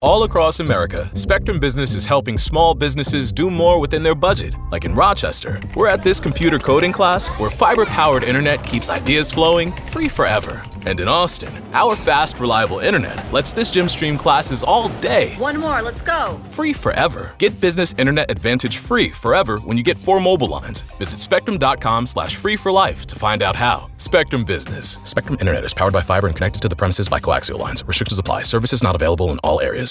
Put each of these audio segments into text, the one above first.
All across America, Spectrum Business is helping small businesses do more within their budget. Like in Rochester, we're at this computer coding class where fiber-powered internet keeps ideas flowing free forever. And in Austin, our fast, reliable internet lets this gym stream classes all day. One more, let's go. Free forever. Get business internet advantage free forever when you get 4 mobile lines. Visit spectrum.com/free for life to find out how. Spectrum Business. Spectrum Internet is powered by fiber and connected to the premises by coaxial lines. Restrictions apply. Services not available in all areas.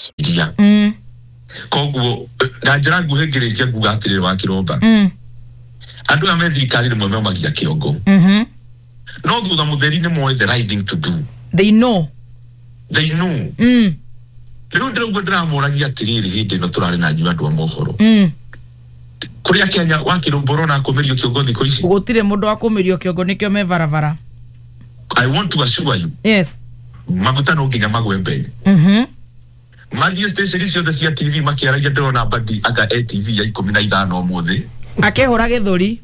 Koguo na njĩra nguhĩ ngĩrĩkia nguga atĩrĩrĩ wa kĩromba, andũ aya me thirikari rĩmwe maumagia kĩongo, no thutha mũtheri nĩ moĩ the right thing to do. They know. They know. Rĩu ndĩrauga ndĩramũragia atĩrĩrĩ, hĩndĩ ĩno tũrarĩ na inyuĩ andũ a mohoro kũrĩa Kenya, wa kĩromba, ũrona akũmĩrio kĩongo thikũ ici? Gũtirĩ mũndũ wa kũmĩrio kĩongo, nĩkĩo me barabara. I want to assure you, maguta no nginya magwe mbere. Mathiĩ station ciothe cia TV makĩaragia, ndĩrona Mbadi anga ATV ya 15 ũmũthĩ. Akĩhũra gĩthũri.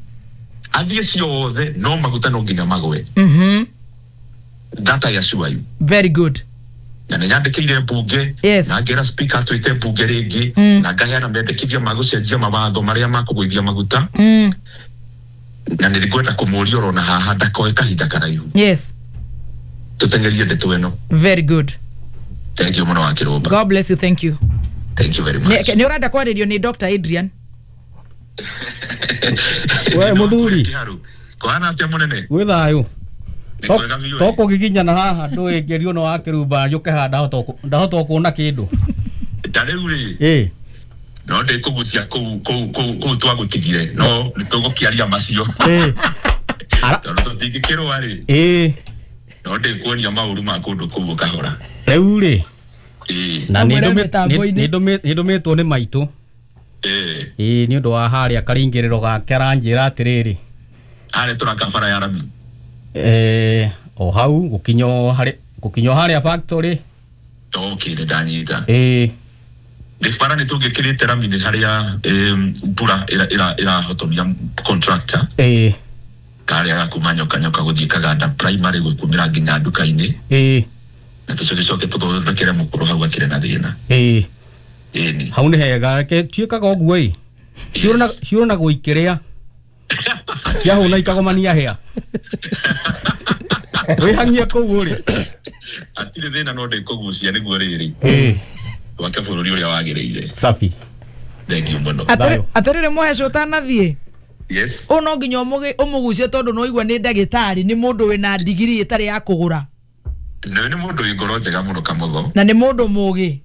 Athiĩ ciothe, no maguta no nginya magwe. That I assure you. Very good. Na nĩ nyandĩkĩire mbunge na ngera speaker twĩte mbunge rĩngĩ na ngaheana mendekithia ma gũcenjia mawatho marĩa makũgũithia maguta, na nĩ ngwenda kũmũria orona haha ndakoe kahinda karaihu tũteng'erie ndeto ĩno. Very good. Thank you mũno, wa kĩrũmba. God bless you, thank you. Thank you very much. Nĩ ũrenda kwarĩrio nĩ Dr. Adrian? We muthuri. Kwana atia, munene? Gwĩ thayũ. Nĩ kwega biũ. Tokũgiginyana haha ndũĩngĩrio no wa kĩrumba njũke haha ndahota kuona kĩndũ. Ta rĩu rĩ, no ndĩkũgucia kũu kũu kũu kũu twagũtigire, no nĩ tũgũkĩaria macio tondũ tũtingĩkĩrũa rĩ, no ndĩkuonia maũru ma kũndũ kũu kahora. Rĩu rĩ, na Amwĩre mĩtambo-inĩ. nĩ ndũmĩtwo nĩ maitũ, ĩĩ, nĩ ũndũ wa harĩa karingĩrĩro gake, aranjĩra atĩrĩrĩ, Harĩa tũraka bara ya rami? O hau gũkinya harĩ gũkinya harĩa factory. Okay, nĩ ndanyita. Nĩ bara nĩ tũngĩkĩrĩte rami, nĩ harĩa mbura ĩrahotomia contractor, karĩa gakuma Nyoka Nyoka gũthiĩ Kaganda Primary, gũkumĩra nginya nduka-inĩ, na tũcoke tũthondekere mũkũrũ hau akĩrĩ na thĩna. Ĩni. Hau nĩ hega, reke tuĩkaga ũguo ĩ. Ciũrũnagwo ikĩrĩa ciahũna ikagomania hĩa, wĩhang'ie kũu ũrĩ. Hatirĩ thĩna, no ndĩkũgucia nĩguo rĩrĩ twake bũrũri ũrĩa wagĩrĩire. Safi. Thank you mũno. Thayũ. Atĩrĩrĩ, mũheci, ũtanathiĩ, Yes. ũũ no nginya ũmũgucie tondũ no igua nĩ ndagĩtarĩ, nĩ mũndũ wĩna ndigiri ĩtarĩ ya kũgũra. Nĩ mũndũ wĩ ngoro njega mũno, Kamotho. Na nĩ mũndũ mũgĩ.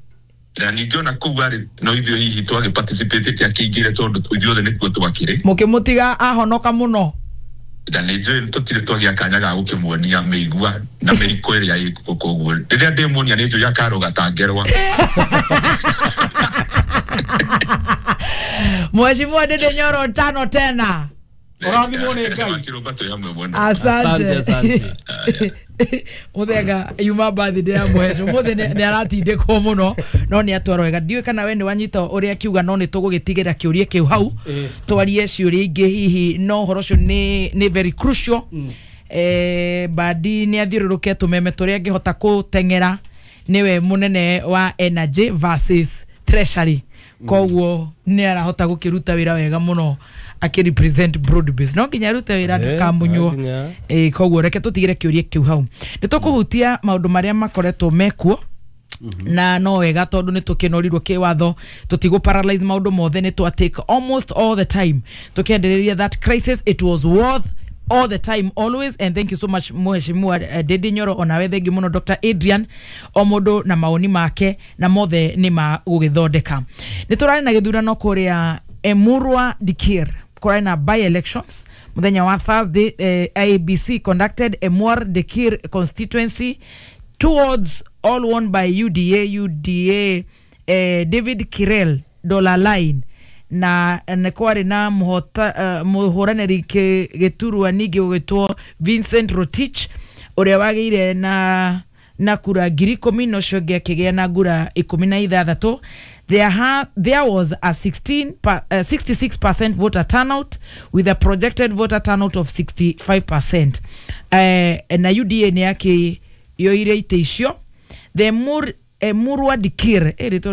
Na ningĩ ona kũu arĩ no ithuĩ hihi twagĩ participate akĩingĩre tondũ ithuothe nĩkuo twakĩrĩ. Mũkĩmũtiga ahonoka mũno. Na nĩ njũĩ tũtirĩ twagĩa kanya ga gũkĩmuonia mĩigua na mĩriko ĩrĩa ĩkuo, koguo rĩrĩa ndĩmuonia nĩ njũĩ akarũga ta ngerwa. Mheshimiwa Ndindi Nyoro, tano tena. Ũrathimwo nĩ Ngai. Wakĩrũmba, twĩ hamwe mũno. Asante. Asante, asante. Mũthenga yuma birthday ya mũheci ũmũthĩ, nĩ aratindĩkwo mũno no nĩ atwarwo wega. Ndiũĩ kana we nĩ wanyita ũrĩa akiuga, no nĩ tũgũgĩtigĩra kĩũria kĩu hau, twarie ciũria ingĩ hihi, no ũhoro ũcio nĩ very crucial. Badi nĩ athiũrũrũke tũmeme tũrĩa angĩhota kũteng'era, nĩwe mũnene wa energy versus treasury, koguo nĩ arahota gũkĩruta wĩra wega mũno akĩrepresent broad base. No nginya arute wĩra ndakamunywo. No nginya. Koguo reke tũtigĩre kĩũria kĩu hau, nĩ tũkũhutia maũndũ marĩa makoretwo mekuo, na no wega tondũ nĩ tũkĩnorirwo kĩwatho, tũtigũ paralyze maũndũ mothe, nĩ twa take almost all the time tũkĩendereria that crisis. It was worth all the time always, and thank you so much, Mheshimiwa Ndindi Nyoro. Onawe thank you mũno, Dr. Adrian. O mũndũ na maoni make na mothe nĩ ma gũgĩthondeka. Nĩ tũrarĩ na gĩthurano kũrĩa Emurua Dikir, kũrarĩ na by elections mũthenya wa Thursday. IEBC conducted Emurua Dikir constituency towards all won by UDA, UDA David Kirel Dollar Line, na nĩ kwarĩ na mũhũranĩri gĩturwa ningĩ ũgĩtwo Vincent Rotich, ũrĩa wagĩire na kura 10,000, na ũcio ũngĩ akĩgĩa na ngura 16. There was a 66% voter turnout with a projected voter turnout of 65%. Na UDA nĩ yakĩyoire itĩ icio. The Emurua Dikir, rĩtwa.